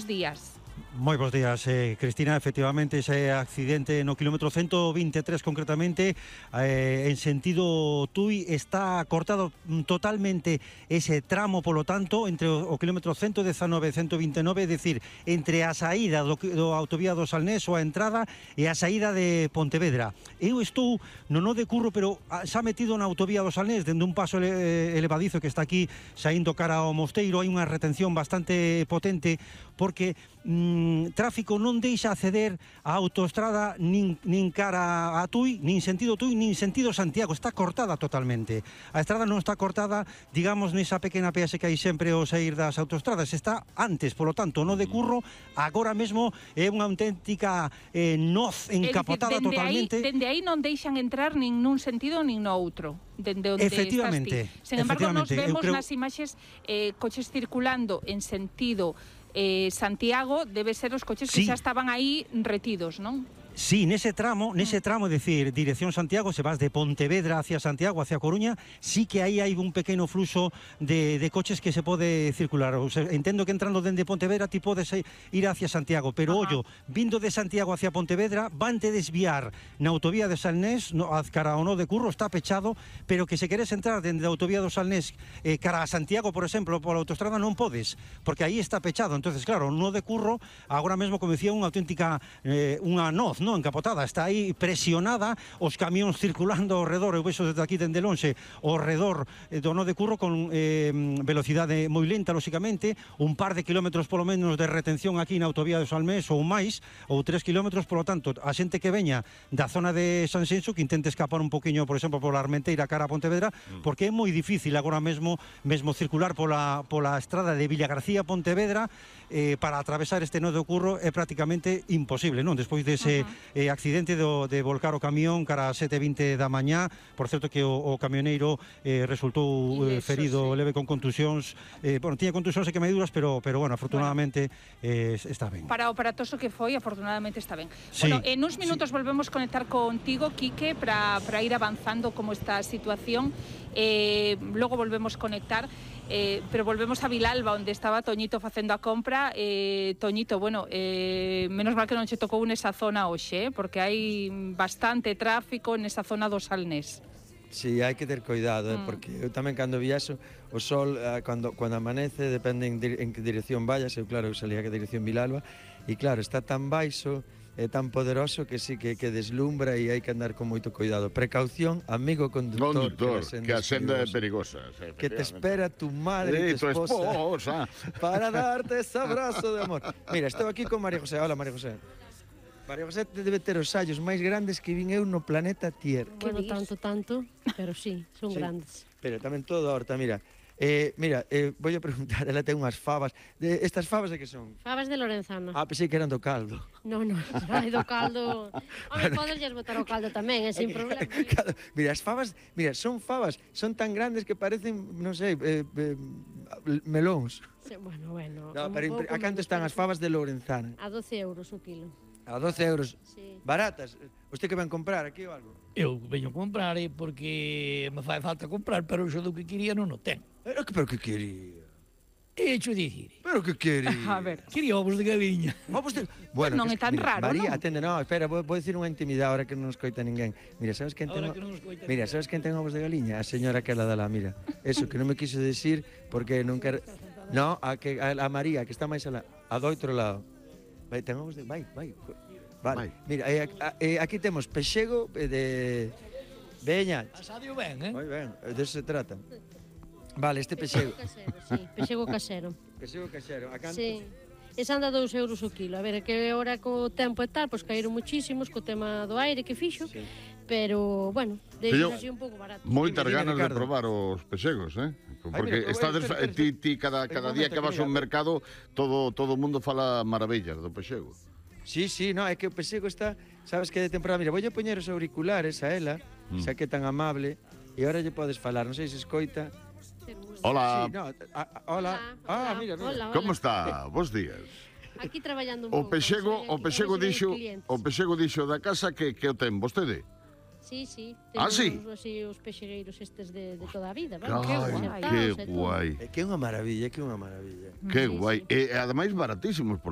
días. Moi bons días, Cristina. Efectivamente, ese accidente no kilómetro 123 concretamente, en sentido Tui, está cortado totalmente ese tramo, polo tanto, entre o kilómetro 119 e 129, é dicir, entre a saída do autovía do Salnés ou a entrada e a saída de Pontevedra. Eu estou no nó de Curro, pero xa metido na autovía do Salnés, dende un paso elevadizo que está aquí saindo cara ao Mosteiro. Hai unha retención bastante potente porque tráfico non deixa acceder á autoestrada nin cara a Tui, nin sentido Tui, nin sentido Santiago. Está cortada totalmente. A estrada non está cortada, digamos, nesa pequena peaxe que hai sempre ao sair das autoestradas. Está antes, polo tanto, no de Curro, agora mesmo é unha auténtica noz encapotada totalmente. Dende aí non deixan entrar nin nun sentido nin no outro. Dende onde efectivamente, estás ti. Sen embargo, nos vemos nas imaxes coches circulando en sentido Santiago, debe ser os coches que xa estaban aí retidos, non? Sí, nese tramo, é dicir, dirección Santiago, se vas de Pontevedra hacia Santiago, hacia Coruña, sí que aí hai un pequeno fluxo de coches que se pode circular. O sea, entendo que entrando dende Pontevedra ti podes ir hacia Santiago, pero ollo, vindo de Santiago hacia Pontevedra, vante desviar na autovía de Salnés, cara ao nó de Curro, está pechado, pero que se queres entrar dende a autovía do Salnés cara a Santiago, por exemplo, pola autoestrada non podes, porque aí está pechado. Entonces, claro, o nó de Curro, agora mesmo, como dicía, unha auténtica unha noz, non encapotada, está aí presionada, os camións circulando ao redor. Eu vexo desde aquí, dende lonxe, ao redor do nó de Curro con velocidade moi lenta, lóxicamente, un par de kilómetros polo menos de retención aquí na autovía de Salnés ou máis, ou 3 kilómetros. Polo tanto, a xente que veña da zona de Sanxenxo que intente escapar un poquinho, por exemplo, pola Armenteira cara a Pontevedra, porque é moi difícil agora mesmo circular pola estrada de Villagarcía a Pontevedra para atravesar este nó de Curro é prácticamente imposible, non? Despois dese accidente de volcar o camión cara a 7:20 da mañá. Por certo que o camioneiro resultou ferido leve con contusións. Bueno, tiña contusións e queimaduras, pero bueno, afortunadamente está ben. Para o aparatoso que foi, afortunadamente está ben. Bueno, en uns minutos volvemos conectar contigo, Quique, para ir avanzando como está a situación. Logo volvemos conectar, pero volvemos a Vilalba, onde estaba Toñito facendo a compra. Toñito, bueno, menos mal que non che tocou nesa zona hoxe, porque hai bastante tráfico nesa zona do Salnés. Sí, hai que ter cuidado, porque eu tamén cando viaxo, o sol, cando amanece, depende en que dirección vayas. Eu, claro, eu salía que dirección Vilalba, e claro, está tan baixo, é tan poderoso que sí que deslumbra, e hai que andar con moito cuidado. Precaución, amigo conductor, que a senda é perigosa. Que te espera tu madre e tu esposa para darte ese abrazo de amor. Mira, estou aquí con María José. Hola, María José. María José debe ter os ollos máis grandes que vin eu no planeta Tierra. Bueno, tanto, pero sí, son grandes. Pero tamén todo a horta, mira. Mira, vou a preguntar, ela ten unhas favas. Estas favas de que son? Favas de Lorenzana. Pensei que eran do caldo. Non, hai do caldo. Home, podes botar o caldo tamén, sin problema. Mira, as favas, son favas, son tan grandes que parecen, non sei, melóns. Bueno. No, pero a canto están as favas de Lorenzana? A 12 euros o kilo. A 12 euros. Sí. Baratas. Usted que van comprar aquí ou algo? Eu veño comprar porque me fai falta comprar, pero xo do que quería non o ten. Pero que quería? Hecho dicir. Pero que quería? A ver. Quería ovos de gaviña. Ovos de... Bueno, non é tan raro, María, non? atende, no, espera, vou dicir unha intimidade ahora que non nos coita ninguén. Mira, sabes quen ten... sabes quen ten ovos de galiña? A señora que la dala, mira. Eso, que non me quiso decir porque non quero... No, a María, que está máis alá, a do outro lado. Vai, ten ovos de... Vai. Vale, mira, aquí temos pexego de... Veña. Asadio ben, Moi ben, de eso se trata. Vale, este pexego. Pexego casero. Pexego casero, a canto? Sí. Esa anda 2 euros o kilo. A ver, que ahora co tempo e tal, pois caíron muchísimos co tema do aire que fixo, pero, bueno, deixo así un pouco barato. Moitas ganas de probar os pexegos, porque ti cada día que vas ao mercado todo o mundo fala maravillas do pexego. Sí, no, é que o pexego está, sabes que de temporada, mira, voulle poñer os auriculares a ela, xa que é tan amable, e agora lle podes falar, non sei se escoita. Hola. Sí, no, hola. Mira. Como está? Bos días. Aquí traballando un pouco. O pexego dixo da casa que o ten vostede. Sí. Sí? Os pexegueiros estes de toda a vida. Que guai. É que é unha maravilla, Que guai. E ademais baratísimos, porque